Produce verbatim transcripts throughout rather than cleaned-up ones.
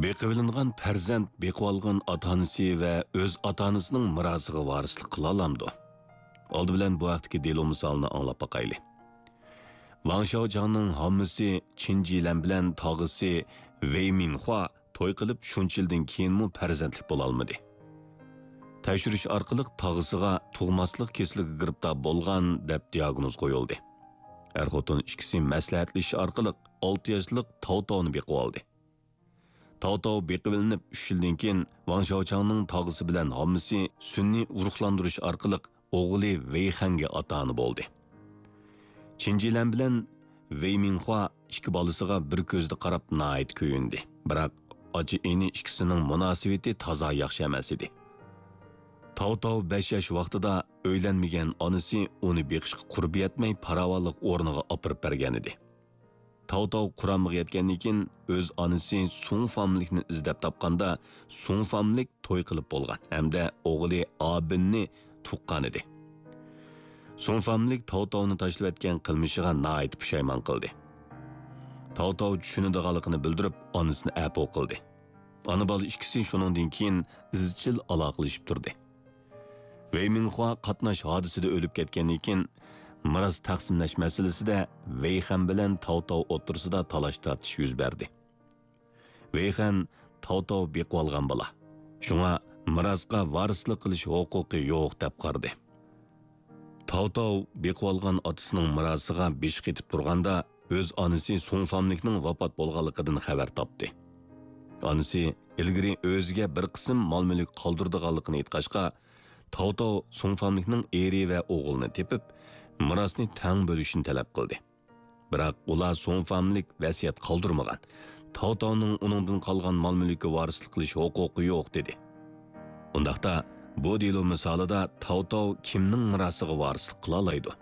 بېقىۋېلىنغان پەرزەنت بېقىۋالغان ئاتا-ئانىسى ۋە ئۆز ئاتا-ئانىسىنىڭ مىراسىغا ۋارىسلىق قىلالامدۇ؟ ئالدى بىلەن بۇ ھەقتىكى دېلو مىسالىنى ئاڭلاپ باقايلى. ۋاڭ شياۋچاڭنىڭ ھاممىسى چىن جىلەن بىلەن تاغىسى ۋېي مىنخۇا توي قىلىپ شۇنچە يىلدىن كېيىنمۇ پەرزەنتلىك بولالمىدى. تەكشۈرۈش ئارقىلىق تاغىسىغا تۇغماسلىق كېسىلىگە گىرىپتار بولغان دەپ دىياگنوز قويۇلدى. ئەر-خوتۇن ئىككىسى مەسلىھەتلىشىش ئارقىلىق ئالتە ياشلىق تاۋتاۋنى بېقىۋالدى. تاۋتاۋ بېقىۋېلىنىپ ئۈچ يىلدىن كېيىن، ۋاڭ شياۋچاڭنىڭ تاغىسى بىلەن ھاممىسى سۈنئىي ئۇرۇقلاندۇرۇش ئارقىلىق ئوغلى ۋېيخەنگە ئاتا-ئانا بولدى. چىن جىلەن بىلەن ۋېي مىنخۇا ئىككى بالىسىغا بىر كۆزدە قاراپ ناھايىتى كۆيۈندى. بىراق، ئاچا-ئىنى ئىككىسىنىڭ مۇناسىۋىتى تازا ياخشى ئەمەس ئىدى. تاۋتاۋ بەش ياش ۋاقتىدا ئۆيلەنمىگەن ئانىسى ئۇنى بېقىشقا قۇربى يەتمەي، پاراۋانلىق ئورنىغا ئاپىرىپ بەرگەنىدى. تاۋتاۋ قۇرامىغا يەتكەندىن كېيىن، ئۆز ئانىسى سۇڭ فاملىكنى ئىزدەپ تاپقاندا، سۇڭ فاملىك توي قىلىپ بولغان ھەمدە ئوغلى ئابىننى تۇغقانىدى. سۇڭ فاملىك تاۋتاۋنى تاشلىۋەتكەن قىلمىشىغا ناھايىتى پۇشايمان قىلدى. تاۋتاۋ چۈشىنىدىغانلىقىنى بىلدۈرۈپ، ئانىسىنى ئەپۇ قىلدى. ئانا-بالا ئىككىسى شۇنىڭدىن كېيىن ئىزچىل ئالاقىلىشىپ تۇردى. ۋېي مىنخۇا قاتناش ھادىسىدە ئۆلۈپ كەتكەندىن كېيىن، مىراس تەقسىملەش مەسىلىسىدە ۋېيخەن بىلەن تاۋتاۋ ئوتتۇرىسىدا تالاش-تارتىش يۈز بەردى. ۋېيخەن تاۋتاۋ بېقىۋالغان بالا. شۇڭا مىراسقا ۋارىسلىق قىلىش ھوقۇقى يوق دەپ قارىدى. تاۋتاۋ بېقىۋالغان ئاتىسىنىڭ مىراسىغا بېشى قېتىپ تۇرغاندا، ئۆز ئانىسى سۇڭ فاملىكنىڭ ۋاپات بولغانلىقىدىن خەۋەر تاپتى. ئانىسى ئىلگىرى ئۆزىگە بىر قىسىم مال-مۈلۈك قالدۇرىدىغانلىقىنى ئېيتقاچقا، تاۋتاۋ سۇڭ فاملىكنىڭ ئېرى ۋە ئوغلىنى تېپىپ، مىراسنى تەڭ بۆلۈشنى تەلەپ قىلدى. بىراق ئۇلار سۇڭ فاملىك ۋەسىيەت قالدۇرمىغان، تاۋتاۋنىڭ ئۇنىڭدىن قالغان مال-مۈلكىگە ۋارىسلىق قىلىش ھوقۇقى يوق، دېدى. ئۇنداقتا، بۇ دېلو مىسالىدا تاۋتاۋ كىمنىڭ مىراسىغا ۋارىسلىق قىلالايدۇ؟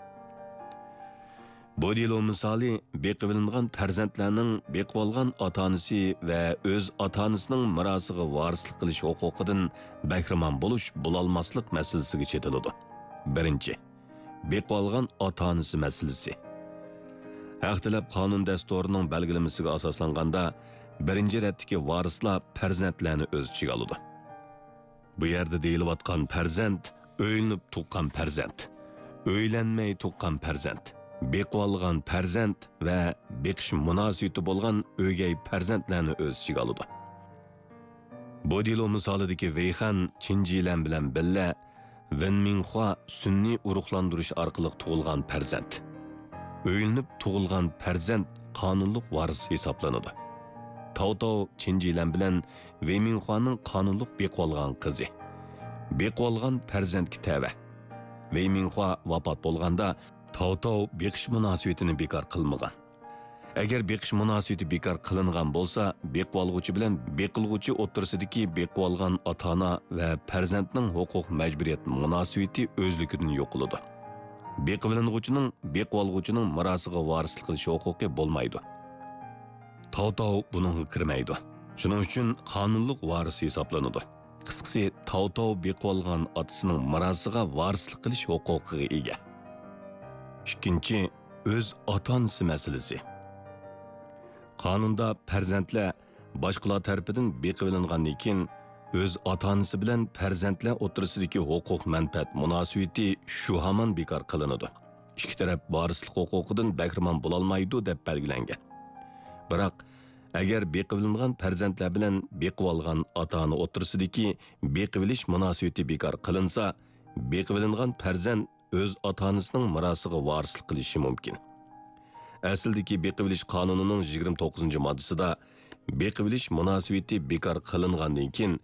بۇ دېلو مىسالى بېقىۋېلىنغان پەرزەنتلەرنىڭ بېقىۋالغان ئاتا-ئانىسى ۋە ئۆز ئاتا-ئانىسىنىڭ مىراسىغا ۋارىسلىق قىلىش ھوقۇقىدىن بەھرىمەن بولۇش، بولالماسلىق مەسىلىسىگە چېتىلىدۇ. بىرىنچى، بېقىۋالغان ئاتا-ئانىسى مەسىلىسى. ھەق تەلەپ قانۇن دەستۇرىنىڭ بەلگىلىمىسىگە ئاساسلانغاندا، بىرىنچى رەتتىكى ۋارىسلار پەرزەنتلەرنى ئۆز ئىچىگە ئالىدۇ. بۇ يەردە دېيىلىۋاتقان پەرزەنت، ئۆيلىنىپ تۇغقان پەرزەنت، ئۆيلەنمەي تۇغقان پەرزەنت، بېقىۋالغان پەرزەنت ۋە بېقىش مۇناسىۋىتى بولغان ئۆگەي پەرزەنتلەرنى ئۆز ئىچىگە ئالىدۇ. بۇ دېلو مىسالىدىكى ۋېيخەن چىن جىلەن بىلەن بىللە ۋېن مىنخۇا سۈنئىي ئۇرۇقلاندۇرۇش ئارقىلىق تۇغۇلغان پەرزەنت. ئۆيلىنىپ تۇغۇلغان پەرزەنت قانۇنلۇق ۋارىس ھېسابلىنىدۇ. تاۋتاۋ چىن جىلەن بىلەن ۋېي مىنخۇانىڭ قانۇنلۇق بېقىۋالغان قىزى. بېقىۋالغان پەرزەنتكە تەۋە. ۋېي مىنخۇا ۋاپات بولغاندا، تاۋتاۋ بېقىش مۇناسىۋىتىنى بىكار قىلمىغان. ئەگەر بېقىش مۇناسىۋىتى بىكار قىلىنغان بولسا، بېقىۋالغۇچى بىلەن بېقىلغۇچى ئوتتۇرىسىدىكى بېقىۋالغان ئاتا-ئانا ۋە پەرزەنتنىڭ ھوقۇق مەجبۇرىيەت مۇناسىۋىتى ئۆزلۈكىدىن يوقىلىدۇ. بېقىۋېلىنغۇچىنىڭ بېقىۋالغۇچىنىڭ مىراسىغا ۋارىسلىق قىلىش ھوقۇقى بولمايدۇ. تاۋتاۋ بۇنىڭغا كىرمەيدۇ. شۇنىڭ ئۈچۈن قانۇنلۇق ۋارىس ھېسابلىنىدۇ. قىسقىسى، تاۋتاۋ بېقىۋالغان ئاتىسىنىڭ مىراسىغا ۋارىسلىق قىلىش ھوقۇقىغا ئىگە. ئىككىنچى، ئۆز ئاتا-ئانىسى مەسىلىسى. قانۇندا پەرزەنتلەر باشقىلار تەرىپىدىن بېقىۋېلىنغاندىن كېيىن، ئۆز ئاتا-ئانىسى بىلەن پەرزەنتلەر ئوتتۇرىسىدىكى ھوقۇق مەنپەئەت مۇناسىۋىتى شۇ ھامان بىكار قىلىنىدۇ. ئىككى تەرەپ ۋارىسلىق ھوقۇقىدىن بەھرىمەن بولالمايدۇ دەپ بەلگىلەنگەن. بىراق، ئەگەر بېقىۋېلىنغان پەرزەنتلەر بىلەن بېقىۋالغان ئاتا-ئانا ئوتتۇرىسىدىكى بېقىۋېلىش مۇناسىۋىتى بىكار قىلىنسا، بېقىۋېلىنغان پەرزەنت ئۆز ئاتا-ئانىسىنىڭ مىراسىغا ۋارىسلىق قىلىشى مۇمكىن. ئەسلىدىكى بېقىۋېلىش قانۇنىنىڭ يىگىرمە توققۇزىنچى ماددىسىدا، بېقىۋېلىش مۇناسىۋىتى بىكار قىلىنغاندىن كېيىن،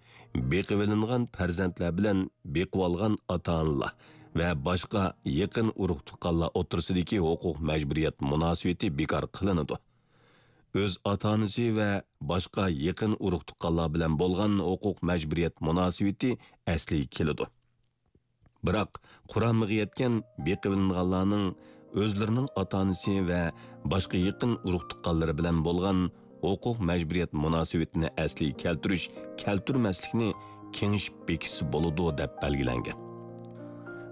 بېقىۋېلىنغان پەرزەنتلەر بىلەن بېقىۋالغان ئاتا-ئانىلار ۋە باشقا يېقىن ئۇرۇق-تۇغقانلار ئوتتۇرىسىدىكى ھوقۇق مەجبۇرىيەت مۇناسىۋىتى بىكار قىلىنىدۇ. ئۆز ئاتا-ئانىسى ۋە باشقا يېقىن ئۇرۇق-تۇغقانلار بىلەن بولغان ھوقۇق مەجبۇرىيەت مۇناسىۋىتى ئەسلىگە كېلىدۇ. بىراق، قۇرامىغا يەتكەن بېقىۋېلىنغانلارنىڭ ئۆزلىرىنىڭ ئاتا-ئانىسى ۋە باشقا يېقىن ئۇرۇق-تۇغقانلىرى بىلەن بولغان ھوقۇق مەجبۇرىيەت مۇناسىۋىتىنى ئەسلىگە كەلتۈرۈش، كەلتۈرمەسلىكنى كېڭىشىپ بېكىتسە بولىدۇ، دەپ بەلگىلەنگەن.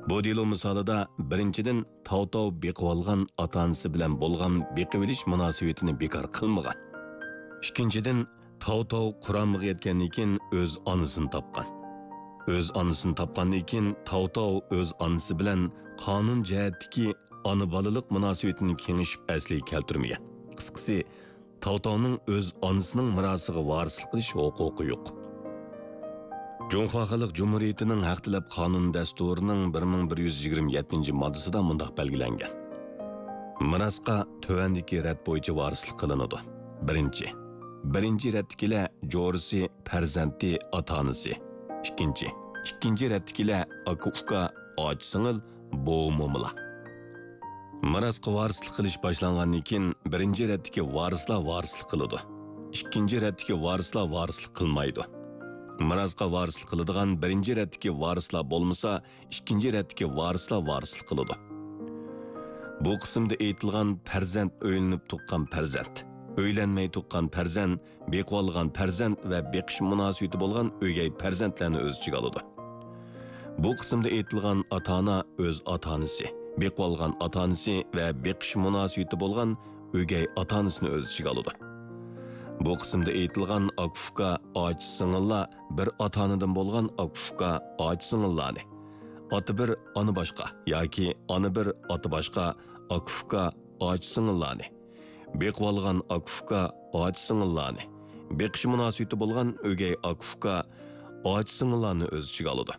بۇ دېلو مىسالىدا، بىرىنچىدىن، تاۋتاۋ بېقىۋالغان ئاتا-ئانىسى بىلەن بولغان بېقىۋېلىش مۇناسىۋىتىنى بىكار قىلمىغان. ئىككىنچىدىن، تاۋ-تاۋ قۇرامىغا يەتكەندىن كېيىن ئۆز ئانىسىنى تاپقان. ئۆز ئانىسىنى تاپقاندىن كېيىن تاۋ-تاۋ ئۆز ئانىسى بىلەن قانۇن جەھەتتىكى ئانا-بالىلىق مۇناسىۋىتىنى كېڭىشىپ ئەسلىگە كەلتۈرمىگەن. قىسقىسى، تاۋ-تاۋنىڭ ئۆز ئانىسىنىڭ مىراسىغا ۋارىسلىق قىلىش ھوقۇقى يوق. جۇڭخۇا خەلق جۇمھۇرىيىتىنىڭ ھەق تەلەپ قانۇن دەستۇرىنىڭ بىر مىڭ بىر يۈز يىگىرمە يەتتىنچى ماددىسىدا مۇنداق بەلگىلەنگەن: مىراسقا تۆۋەندىكى رەت بويىچە ۋارىسلىق قىلىنىدۇ. بىرىنچى، بىرىنچى رەتتىكىلەر جورىسى، پەرزەنتى، ئاتا-ئانىسى. ئىككىنچى، ئىككىنچى رەتتىكىلەر ئاكا-ئۇكا، ئاچا-سىڭىل، بوۋا-مومىلار. مىراسقا ۋارىسلىق قىلىش باشلانغاندىن كېيىن، بىرىنچى رەتتىكى ۋارىسلار ۋارىسلىق قىلىدۇ. ئىككىنچى رەتتىكى ۋارىسلار ۋارىسلىق قىلمايدۇ. مىراسقا ۋارىسلىق قىلىدىغان بىرىنچى رەتتىكى ۋارىسلار بولمىسا، ئىككىنچى رەتتىكى ۋارىسلار ۋارىسلىق قىلىدۇ. بۇ قىسىمدا ئېيتىلغان پەرزەنت ئۆيلىنىپ تۇغقان پەرزەنت، ئۆيلەنمەي تۇغقان پەرزەنت، بېقىۋالغان پەرزەنت ۋە بېقىش مۇناسىۋىتى بولغان ئۆگەي پەرزەنتلەرنى ئۆز ئىچىگە ئالىدۇ. بۇ قىسىمدا ئېيتىلغان ئاتا-ئانا ئۆز ئاتا-ئانىسى، بېقىۋالغان ئاتا-ئانىسى ۋە بېقىش مۇناسىۋىتى بولغان ئۆگەي ئاتا-ئانىسىنى ئۆز ئىچىگە ئالىدۇ. بۇ قىسىمدا ئېيتىلغان ئاكا-ئۇكا، ئاچا-سىڭىللار بىر ئاتا-ئانىدىن بولغان ئاكا-ئۇكا، ئاچا-سىڭىللارنى، ئاتا بىر، ئانا باشقا ياكى ئانا بىر، ئاتا باشقا ئاكا-ئۇكا، ئاچا-سىڭىللارنى، بېقىۋالغان ئاكا-ئۇكا، ئاچا-سىڭىللارنى، بېقىش مۇناسىۋىتى بولغان ئۆگەي ئاكا-ئۇكا، ئاچا-سىڭىللارنى ئۆز ئىچىگە ئالىدۇ.